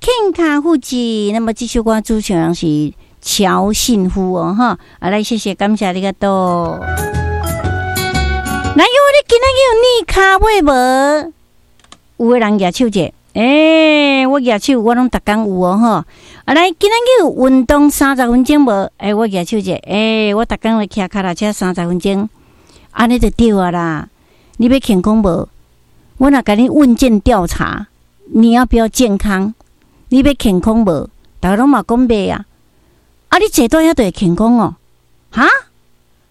健康福祉。那麼這首歌主唱人是喬信夫哦，哈，啊來謝謝感謝ありがとう。來喲，你今仔日有躡跤尾無？有的人舉手者，欸，我舉手，我攏逐工有哦，吼。啊來，今仔日有運動三十分鐘無？欸，我舉手者，欸，我逐工來騎腳踏車三十分鐘，按呢就對啊啦。你欲健康無？我若共你問卷調查，你要不要健康？你欲健康無？逐家攏嘛講欲啊。啊，你坐佇遐就會健康哦？哈？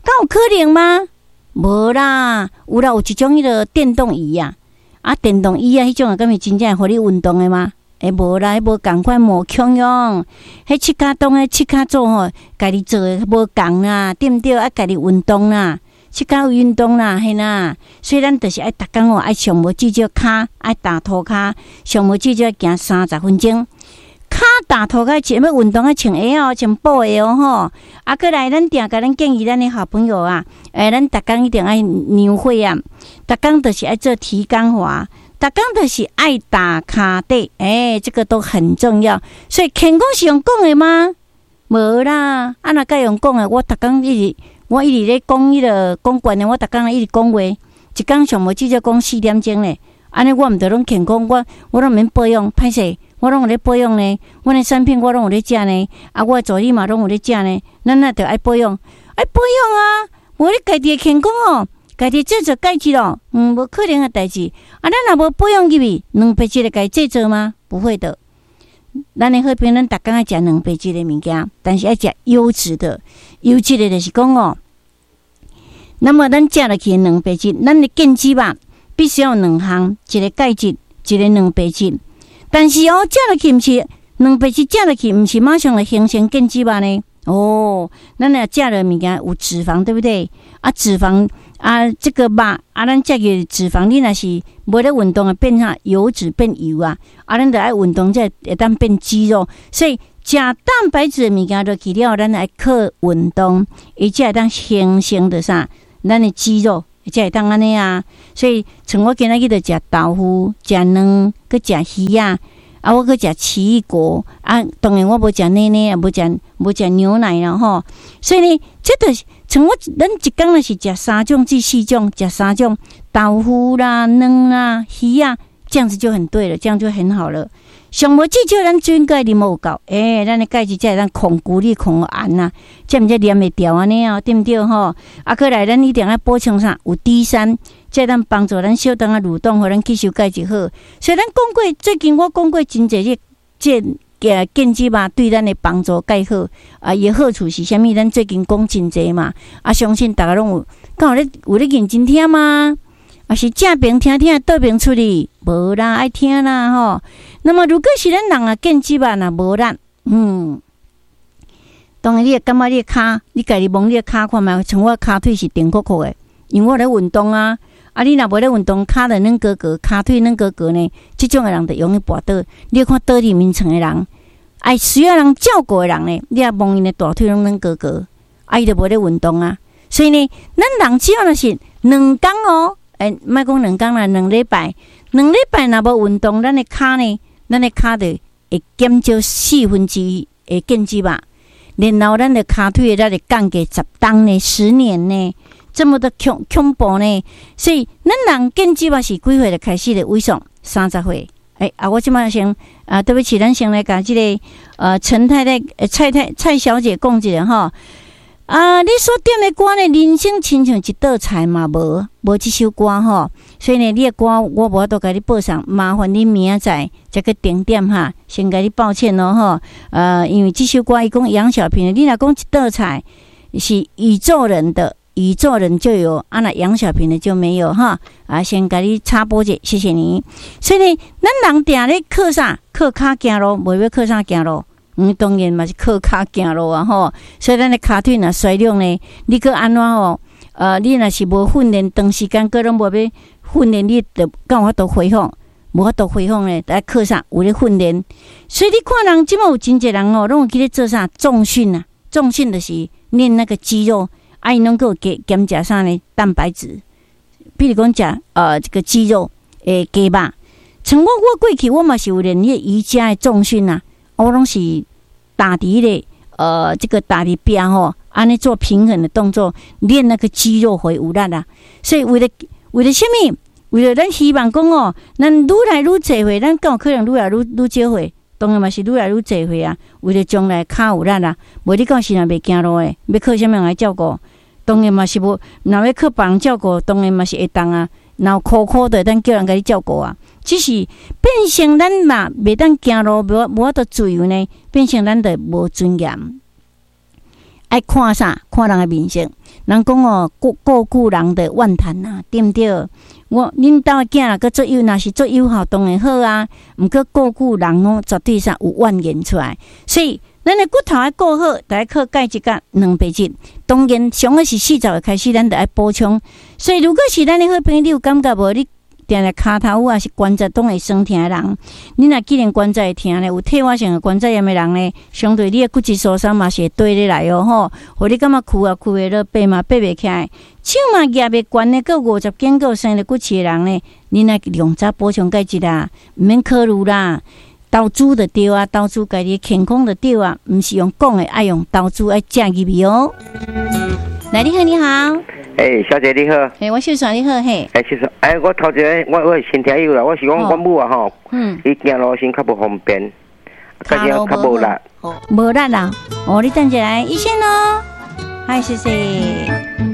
敢有可能嗎？無啦，有啦，有一種彼個電動椅啊，啊，電動椅啊，彼種啊，敢是真正會予你運動的嗎？欸，無啦，彼無仝款，無強用。彼七跤當彼七跤組吼，家己做的無仝啦，對毋對？愛家己運動啦，七跤有運動啦，嘿啦。所以咱就是愛逐工哦，愛上無至少跤愛踏塗跤，上無至少愛行三十分鐘。跤踏塗跤，穿欲運動愛穿鞋哦，穿布鞋哦吼。啊，閣來咱定共咱建議咱的好朋友啊，欸，咱逐工一定愛量血壓，逐工就是愛做體感華，逐工就是愛踏跤底，欸，這個都很重要。所以健康是用講的嗎？無啦，啊若該用講的，我逐工一直我一直咧講彼個講觀念，我逐工一直講話，一工上無至少講4點鐘咧。按呢我毋著攏健康，我攏毋免保養，歹勢，我攏有咧保養呢。阮的產品我攏有咧食呢，啊，我的助理嘛攏有咧食呢。咱若著愛保養，愛保養啊！無你家己的健康哦，家己製造鈣質咯，無可能的代誌。啊，咱若無保養入去，蛋白質會共製造嗎？不會的。咱的好朋友，咱逐工愛食蛋白質的物件，但是愛食優質的，優質的就是講哦。那麼咱食落去的蛋白質，咱的建脂吧，必須要兩項，一個鈣質，一個蛋白質。但是哦，食落去毋是蛋白質，食落去毋是馬上就形成建脂肉呢。哦，咱若食的物件有脂肪，對不對？啊，脂肪啊，這個肉啊，咱食的脂肪，你若是無咧運動啊，變啥油脂變油啊，啊，咱著愛運動才會當變肌肉。所以食蛋白質的物件落去了，咱愛靠運動，伊才會當形成著啥？咱的肌肉才會當按呢啊。所以，像我今仔日就食豆腐、食卵，閣食魚仔，啊，我閣食奇異果啊。當然我無食奶奶，無食牛奶啦吼。所以呢，這就是像我咱一工若是食三種至四種，食三種豆腐啦、卵啦、魚仔，這樣子就很對了，這樣就很好了。上無至少咱水鈣啉有夠，欸，咱的鈣質才會當控骨力、控鹽啊，才毋才黏會牢按呢哦，對毋對吼？啊，閣來咱一定愛補充啥？有 D3，才會當幫助咱小腸仔蠕動，予咱吸收鈣質好。所以咱講過，最近我講過真濟這這建脂肉對咱的幫助蓋好啊，伊的好處是啥物？咱最近講真濟嘛，啊，相信逐家攏有，敢有咧有咧認真聽嗎？啊是正爿聽聽，倒爿出去，無啦，愛聽啦吼。那麼如果是咱人啊，建脂肉若無力，當然你會感覺你的跤，你家己摸你的跤看覓，像我跤腿是定酷酷的，因為我咧運動啊。啊，你若無咧運動，跤就軟糊糊，跤腿軟糊糊呢，這種的人就容易跋倒。你看倒佇眠床的人，愛需要人照顧的人呢，你也摸𪜶的大腿攏軟糊糊，啊，伊就無咧運動啊。所以呢，咱人只要若是兩工哦。欸，莫講兩工啦，兩禮拜，兩禮拜若無運動，咱的跤呢，咱的跤就會減少1/4的建脂肉，然後咱的跤腿的力會降低10磅呢，10年呢，這麼的恐恐怖呢。所以，咱人建脂肉是幾歲就開始咧萎縮？30歲。欸，啊，我這擺先啊，對不起，咱先來共這個陳太太、蔡太、蔡小姐講一下吼。啊！你所點的歌呢？人生親像一道菜嘛，無無這首歌吼，所以呢，你的歌我無法度共你報送，麻煩你明仔載才去定點哈，先共你抱歉囉吼。因為這首歌伊講楊小萍，你若講一道菜是宇宙人的，宇宙人就有，啊若楊小萍的就沒有哈。啊，先共你插播者，謝謝你。所以呢，咱人定咧靠啥？靠跤行路，無欲靠啥行路？當然嘛是靠跤行路啊吼，所以咱的跤腿若衰弱呢，你閣按怎吼？你若是無訓練，長時間閣攏無欲訓練，你就敢有法度恢復？無法度恢復呢，愛靠啥？有咧訓練。所以你看人這馬有真濟人哦，攏有去咧做啥重訓啊？重訓就是練那個肌肉，啊，𪜶攏閣有加兼食啥呢？蛋白質，比如講食這個雞肉，會雞肉。像我過去我嘛是有練彼個瑜伽的重訓啊，我攏是打佇彼個這個打佇壁吼，按呢做平衡的動作，練那個肌肉會有力啊。所以為了啥物？為了咱希望講哦，咱愈來愈濟歲，咱敢有可能愈來愈少歲？當然嘛是愈來愈濟歲啊！為了將來跤有力啊，無你到時若袂行路的，欲靠啥物人來照顧？當然嘛是無，若欲靠別人照顧，當然嘛是會當啊。若有苦苦的，當叫人共你照顧啊。只是變成咱嘛袂當行路，無法度自由呢，變成咱就無尊嚴。愛看啥？看人的面色。人講哦，顧久人就怨嘆啊，對毋對？我恁兜的囝若閣足有，若是足友好，當然好啊。毋過顧久人攏絕對啥有怨言出來，所以咱的骨頭愛顧好，就愛靠鈣質佮蛋白質。當然，上好是40歲開始，咱就愛補充。所以，如果是咱的好朋友，你有感覺無？你定定跤頭趺抑是關節攏會酸疼的人，你若既然關節會疼咧，有退化性的關節炎的人呢，相對你的骨質疏鬆嘛是會綴咧來哦吼，予你感覺跍啊跍袂落，爬嘛爬袂起來，手嘛舉袂懸的，閣50肩，閣有生了骨刺的人呢，你若量早補充鈣質啊，毋免考慮啦，投資就對啊，投資家己的健康就對啊，毋是用講的，愛用投資愛食入去哦。來，你好，你好。欸，小姐你好。欸，我秀璇你好嘿。欸，秀璇，欸，我頭一个，我是新聽友啦，我是講我母啊吼，伊行路時較無方便，較較無力。無力啦，哦，你等一下，醫生哦，嗨，謝謝。